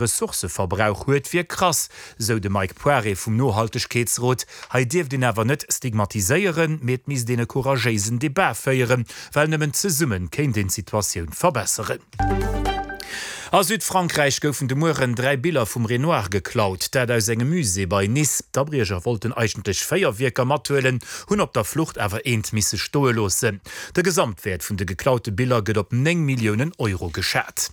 Ressourcëverbrauch huet, wier krass, sou de Mike Poiré vum Nohaltegkeetsrot. Hei dierft een awer net stigmatiséieren, mee et misst een e couragéisen Debat féieren, well nëmmen zesumme kéint een d'Situatioun verbesseren. A Südfrankräich goufen de Mueren 3 Biller vum Renoir geklaut, dat aus engem Musée bei Nice. D'Abriecher wollten eigentlech 4 Wierker mathuelen, hunn op der Flucht awer eent misse stoe loossen. De Gesamtwäert vun de geklaute Biller gëtt op 9 Milliounen Euro geschat.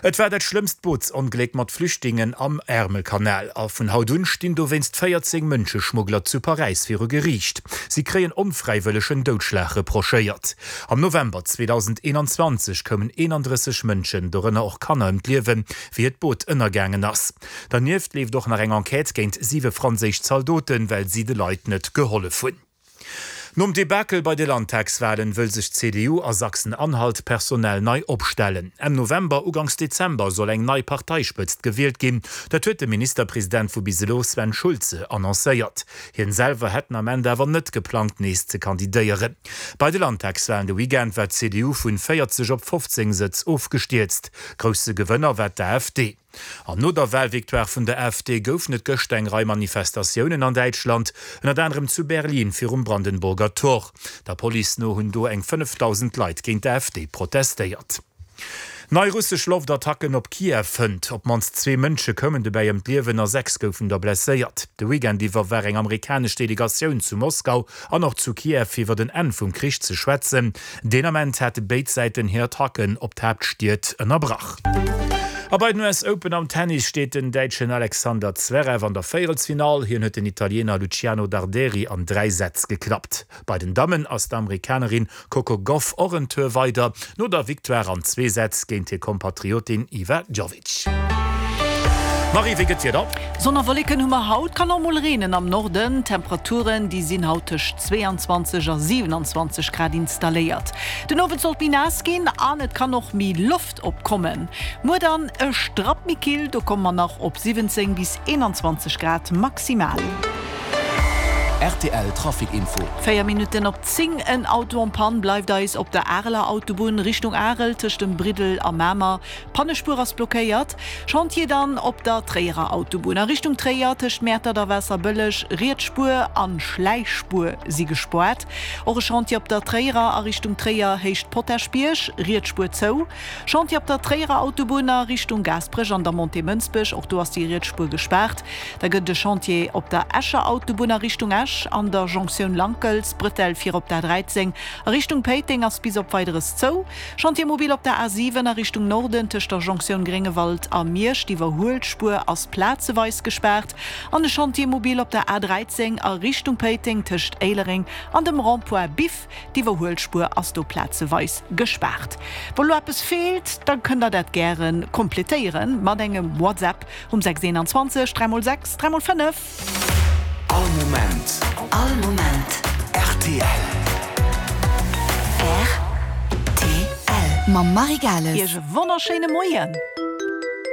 Et war dat schlëmmst Bootsongléck mat Flüchtlingen am Ärmelkanal a vun haut un stinn dowéinst 14 Mënscheschmuggler zu Paräis viru Geriicht. Si kréien onfräiwëllegen Doudschlag reprochéiert. Am November 2021 koumen 31 Mënschen, dorënner och Kanner, ëm d'Liewen, wéi hiert Boot ënnergaangen ass. Dernieft leeft och nach eng Enquête géint siwe franséisch Zaldoten, well si de Leit net gehollef hunn. Nom Debakel bei de Landtagswalen wëll sech d'CDU a Sachsen-Anhalt personell nei opstellen. Enn November, Uganks Dezember soll eng nei Parteispëtzt gewielt ginn. Dat huet de Ministerpresident vu bis elo Sven Schulze annoncéiert. Hien selwer hätt den Ament awer net geplangt nees ze kandidéieren. Bei de Landtagswalen de Weekend war d'CDU vun 40 op 15 Sëtz ofgestierzt. Grousse Gewënner war d'AfD. An no der Walvictoire vun der AfD goufen et gëschter eng Rei Manifestatiounen an Däitschland, ënnert anerem zu Berlin virum Brandenburger Tor. Der Police no hunn do eng 5.000 Leit géint d'AfD protestéiert. Nei russesch Loftattacken op Kiew fënnt. Op d'mannst zwee Mënsche koumen dobäi ëm d'Liewen a 6 goufen der blesséiert. De Weekend iwwer war eng amerikanesch Delegatioun zu Moskau an och zu Kiew fir iwwer en Enn vum Krich ze schwätzen. Deen Ament hate béid Säiten hir Attacken op d'Haaptstied ënnerbrach. A bei den US Open am Tennis steet den Däitschen Alexander Zverev an der Véierelsfinall. Hien huet den Italiener Luciano Darderi an 3 Sätz geklappt. Bei den Dammen ass d'Amerikanerin Coco Gauff och en Tour weider, no der Victoire an zwee Sätz géint hir Kompatriotin Iva Jovic. Marie, wéi gëtt d'Wieder? Sonn a Wolleken hu mer haut, kann och mol reenen am Norden. D'Temperaturen, déi sinn haut tëscht 22 a 27 Grad installéiert. Den Owend soll et méi naass ginn an et kann och méi Loft opkommen. Muer dann e Strapp méi kill, do komme mer nach op 17 bis 21 Grad maximal. Rtl Trafic Info. 4 Minutten op 10, En Auto en panne bleift eis op der Areler Autobunn Richtung Arel tëscht dem Briddel a Mamer. D'Pannespuer ass blockéiert. Chantier dann op der Tréierer Autobunn a Richtung Tréier tëscht Mäertert a Waasserbëlleg. Riets Spuer an Schläichspuer si gespoart. Och e Chantier op der Tréierer a Richtung Tréier Héicht Potaschbierg, riets Spuer zou. Chantier op der Tréierer Autobunn a Richtung Gaasperech an der Montée Mënsbech, och do ass déi riets Spuer gespaart. Da gëtt et e Chantier op der Escher Autobunn a Richtung Esch an der Jonktioun Lankels. D'Bretelle fir op d'A13 a Richtung Péiteng ass bis op Weideres zou. Chantier mobile op der A7 a Richtung Norden tëscht der Jonktioun Gréngewald a Miersch. D'Iwwerhuelspuer ass plazeweis gespaart. An e Chantier mobile op der A13 a Richtung Péiteng tëscht Éilereng an dem Rond-point Biff. D'Iwwerhuelspuer ass do plazeweis gespaart. Wa lo eppes feelt, da kënnt der dat gäre kompletéiere mat engem WhatsApp um 6 21 3 x 6 3 x 5. All Moment. All Moment. Rtl. Rtl. Mam Marie Gales. Iech e wonnerschéine Moien.